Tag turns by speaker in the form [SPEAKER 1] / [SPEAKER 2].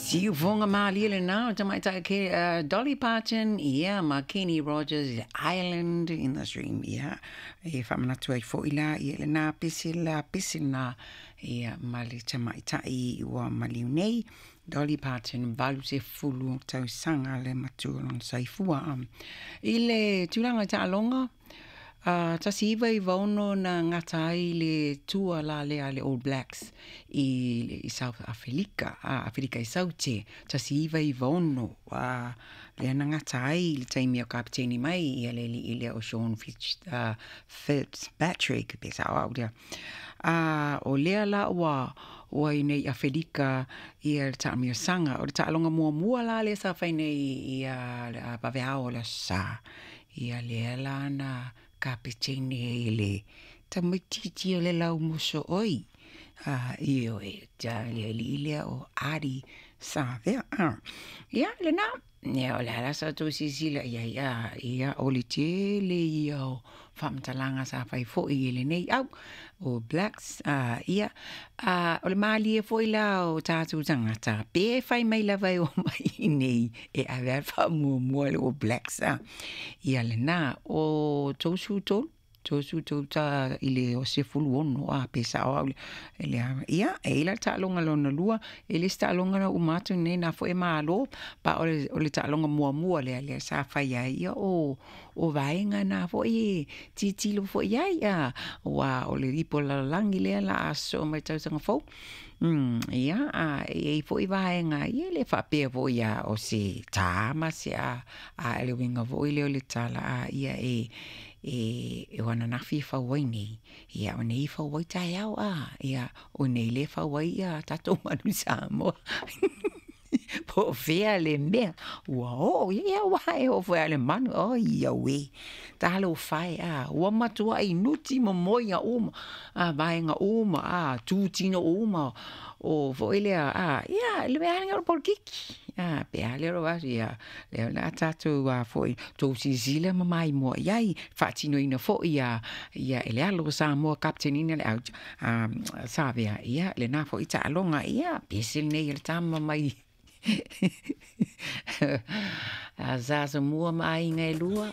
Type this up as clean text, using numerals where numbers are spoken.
[SPEAKER 1] Siufoga malie lena o tamaitai ke Dolly Parton ia ma Kenny Rogers, "Island in the Stream". Ia e faamanatu ai foʻi la ia lena pese la pese na ia ma le tamaitai ua maliu nei, Dolly Parton, 80 tausaga le matua lona saifua. I le tulaga i taaloga, 1996 na gata ai le tua la lea le All Blacks i South Afelika, Afelika i Saute, 1996 lea na gata ai le taimi o kapiteni mai ia le alii lea o Sean Fitzpatrick, pe sao au lea. O lea la ua i nei Afelika ia le taamilosaga. O le taaloga muamua la lea sa fai nei ia vaveao o le Aso Sa, ia lea la na kapiteni ai e le tamaitiiti o le laumoso oi, ioe, le alii lea o Ardie Savea. Ia lena, ia o le a la sa outou silasila i ai, ia o le tele ia o faamatalaga sa fai foʻi i lenei au o Blacks. Ia o le malie foi la o tatou tagata pe fai mai lava e o mai nei e ave a faamuamua le All Blacks. Ia lena o 33 33 ta i le o 16 pe sao au le ia e ila taaloga lona lua e le taaloga na uma atu nei na foʻi malo pa o le taaloga muamua lea sa fai ai ia o vaega na foʻi e tilotilo foʻi ai ua o le ipu lalolagi lea la aso mai tausaga fou. Ia, a e i foʻi vaega, ia le faapea foʻi a o se tā ma se a le uiga foʻi lea o le tala ia e o ananafi e fau ai nei, ia o nei fau ai taeao ia o nei le fau ai ia tatou manu Samoa. Po o fea le mea ua oo ia ua e oo foi a le manu oi ia ue talofa e ua matuai nuti momoiga uma vaega uma tutino uma o foi lea ia le mea o le polokiki pe a lea o aso ia lea o le a tatou foʻi tou silasila ma maimoa i ai faatinoina foʻi ia e le alo o Samoa kapitenina le au Savea ia lena foʻi taaloga ia pese lenei e le tama mai sa Asomua ma aiga e lua.